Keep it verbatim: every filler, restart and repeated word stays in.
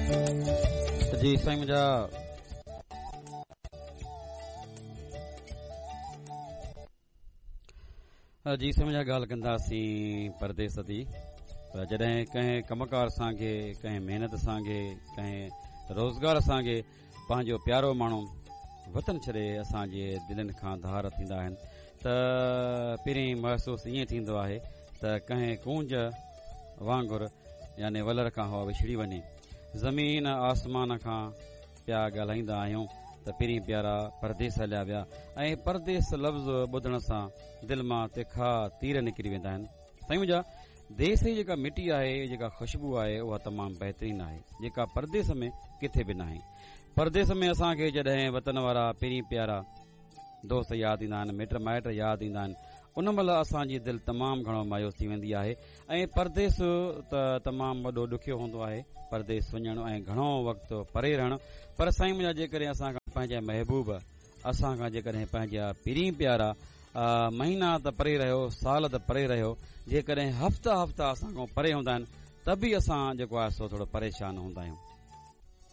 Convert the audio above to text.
जी साईं मुंहिंजा, जी साईं मुंहिंजा, ॻाल्हि कंदासीं परदेस जी। पर जॾहिं कंहिं कमकार सां, कंहिं महिनत सां, कंहिं रोज़गार सां पंहिंजो प्यारो माण्हू वतन छॾे असांजे दिलनि खां धार थींदा आहिनि त पहिरीं महसूसु ईअं थींदो आहे त कंहिं कूंज वांगुरु यानी वलर खां हवा विछड़ी वञे। ज़मीन आसमान खां पिया ॻाल्हाईंदा आहियूं त पहिरीं प्यारा परदेस हलिया विया ऐं परदेस लफ़्ज़ ॿुधण सां दिलि मां तिखा तीर निकिरी वेंदा आहिनि। साईं मुंहिंजा, देस जी जेका मिटी आहे, जेका ख़ुशबू आहे, उहा तमामु बहितरीन आहे, जेका परदेस में किथे बि नाहे। परदेस में असांखे जॾहिं वतन वारा पहिरीं प्यारा दोस्त यादि ईंदा आहिनि, मिट माइट यादि ईंदा आहिनि, उन महिल असांजी दिलि तमामु घणो मायूस थी वेंदी आहे। ऐं परदेस त तमामु वॾो ॾुखियो हूंदो आहे, परदेस वञणु ऐं घणो वक़्तु परे रहणु। पर साईं मुंहिंजा, जेकॾहिं असां खां पंहिंजा महबूब, असां खां जेकॾहिं पंहिंजा पहिरीं प्यारा महीना त परे रहियो, साल त परे रहियो, जेकॾहिं हफ़्ता हफ़्ता असां खां परे हूंदा आहिनि त बि असां जेको आहे सो थोरो परेशान हूंदा आहियूं।